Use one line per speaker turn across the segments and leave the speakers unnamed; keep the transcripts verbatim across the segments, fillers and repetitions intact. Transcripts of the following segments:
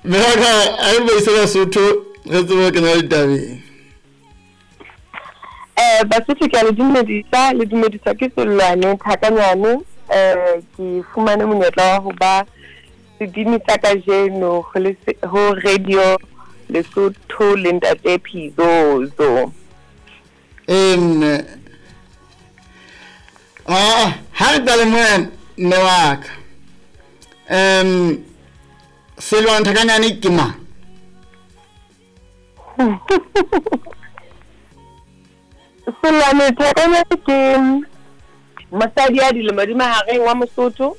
Mme wa ka a re beise Basotho re tsebe ho kena ditabeng.
Eh Basotho ke a le dumedisa, le dumediswa ke Sellwane Thakanyane. Eh ke fumane monyetla wa ho ba sebini sa kajeno ho le ho radio Lesotho le ntate Phizozo.
Ee mme. Ah, ha re qale mona mme wa ka. Um Sellwane Thakanyane ke mang?
Sellwane Thakanyane ke mosadi ya dilemo di mahareng wa Mosotho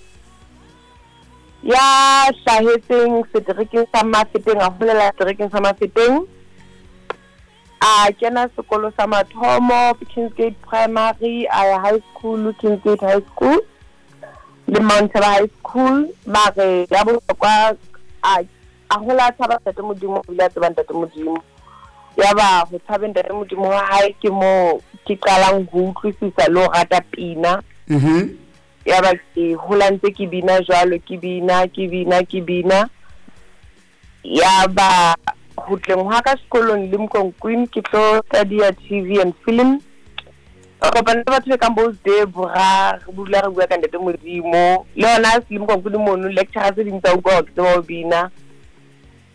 ya hlahetseng seterekeng sa Mafeteng, a holela seterekeng sa Mafeteng. A kena sekolo sa mathomo Kingsgate Primary, a ya high school Kingsgate High School le Mount Tabor High School. Mare ya bohlokwa a a hola a tshaba ntate Modimo, o ile a tseba ntate Modimo. Ya ba ho tshabeng ntate Modimo wa hae ke mo ke qalang ho utlwisisa le ho rata pina.
Mhm.
Ya ba ke hola ntse ke bina jwalo, ke bina, ke bina, ke bina. Ya ba ho tleng hwa ka sekolong Limkokwing ke tlo study-a T V and film. Ka kopana le batho ba kang bo Debra, re dula re bua ka ntate Modimo. Le hona Limkokwing mono lecturer tse ding tsa utlwa hore ke tseba ho bina.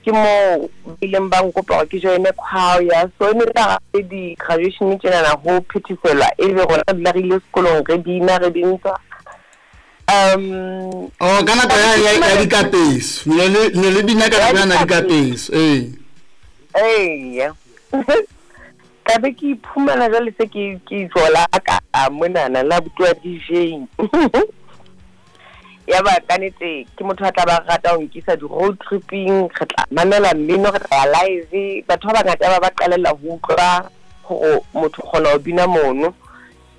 Ke mo ileng ba nkopa hore ke join choir. So e ne tla di graduation tjenana ho phethiselwa e be rona dula re ile sekolong re bina re bintswa. Um
Oh, ka nako ya ya ya dikapeso. Ne le ne le bina ka nako ya dikapeso. Eh.
Ee. Ka be ke iphumana jwale se ke ke jola ka monana la bua D J. Ya ba ka nnete ke motho a tla ba rata ho nkisa di road tripping, re tla mamela mmino, re tla ya live. Batho ba bangata ba ba qalella ho utlwa hore motho kgona ho bina mono.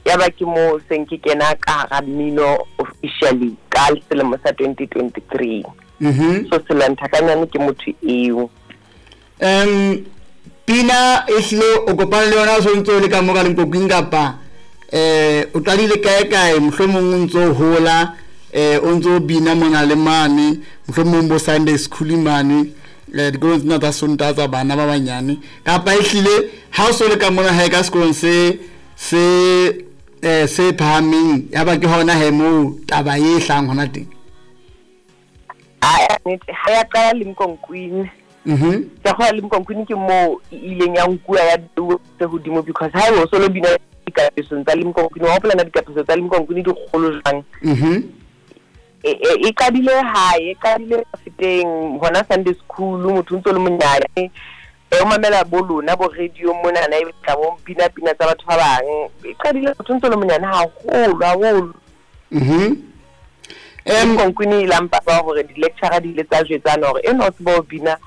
Ya ba ke mo seng ke kena ka hara mmino officially ka selemo sa twenty twenty-three.
Mhm.
So Sellwane Thakanyane ke motho eo.
Um pina e hlile o kopane le yona o so ntso le ka mo ka Limkokwing kapa eh o qadile kae kae, mohlomong o ntso hola eh o ntso bina mona le mane, mohlomong bo Sunday school mane, eh dikolong tsena tsa Sontaha tsa bana ba banyane, kapa e hlile ha o so le ka mona hae ka sekolong se se eh se phahameng, ya ba ke hona he moo taba e hlang hona teng?
A nnete ha ya qala Limkokwing.
Mhm.
Ka go Limkokwing ke mo e ileng ya nkuwa ya tse hodimo because ha o so lo bina dikapesong tsa Limkokwing, wa hopola na dikapeso tsa Limkokwing di kgolo jwang?
Mhm.
E e qadile hae, e qadile Mafeteng hona Sunday school, motho ntso le monyane. E o mamela bo lona bo radio mona na e tla bo bina pina tsa batho ba bang. E qadile motho ntso le monyane haholo haholo.
Mhm.
Em Limkokwing e lampa ba hore di lecturer di ile tsa jwetsana hore eno o tseba ho bina,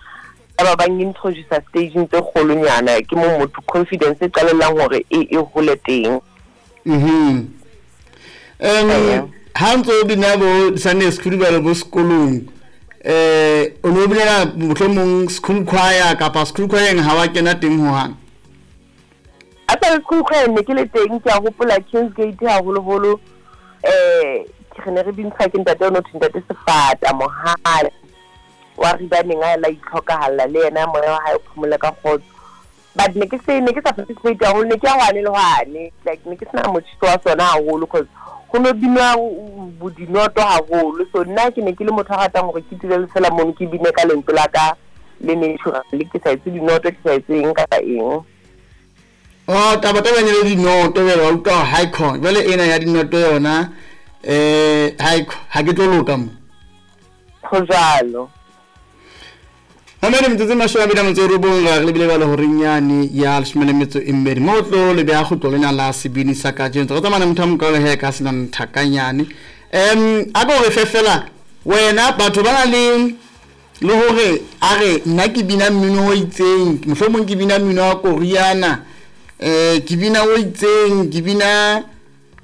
ba ba introduce staging tse kgolonyana, ke mo motho confidence e qalellang hore e e hole teng.
Mhm. Em ha ntso bina bo Sunday school ba le bo sekolong, eh o no binela mohlomong school choir kapa school choir ha wa kena teng ho hang?
A sa school choir ne ke le teng, ke a hopola Kingsgate haholoholo. Eh ke ne re bintsha ke ntate ono ntate Sefata Mohale wa re baneng a la itlhokahalla le yena moya wa hae o phomole ka kgotso. But ne ke se ne ke sa participate haholo, ne ke ya hwane le hwane, like ne ke sena motjhiso wa sona haholo cause ho no binwa bodinoto haholo. So nna ke ne ke le motho a ratang hore ke dule fela mono ke bine ka lentswe la ka le natural, ke sa etse dinoto, ke sa etse eng kapa eng.
Oh, taba taba ne le dinoto jwale wa utlwa high con jwale ena ya dinoto yona eh high ha ke tlo loka mo
ho jwalo.
Mamedi metsotso e mashome a mabedi a metso e robong re lebile jwale horeng yane ya leshome le metso e mmedi mo tlo le beha kgutlo lena la sebini sa kajeno. Re tsamaya motho a mokalo he ka Sellwane Thakanyane. Em a ko re fe fela wena batho ba na le le hore a re nna ke bina mmino o itseng, mohlomong ke bina mmino wa Koreana, eh ke bina o itseng, ke bina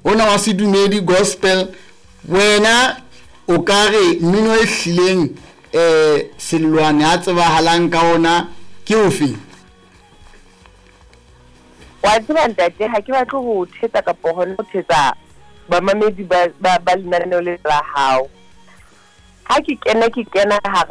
ona wa sedumedi gospel. Wena o ka re mmino e hlileng eh Sellwane a tsebahalang ka ona ke ofe?
Wa tseba ntate, ha ke batle ho thetsa kapa hona ho thetsa bamamedi ba ba lenaneo le la hao. Ha ke kena ke kena hara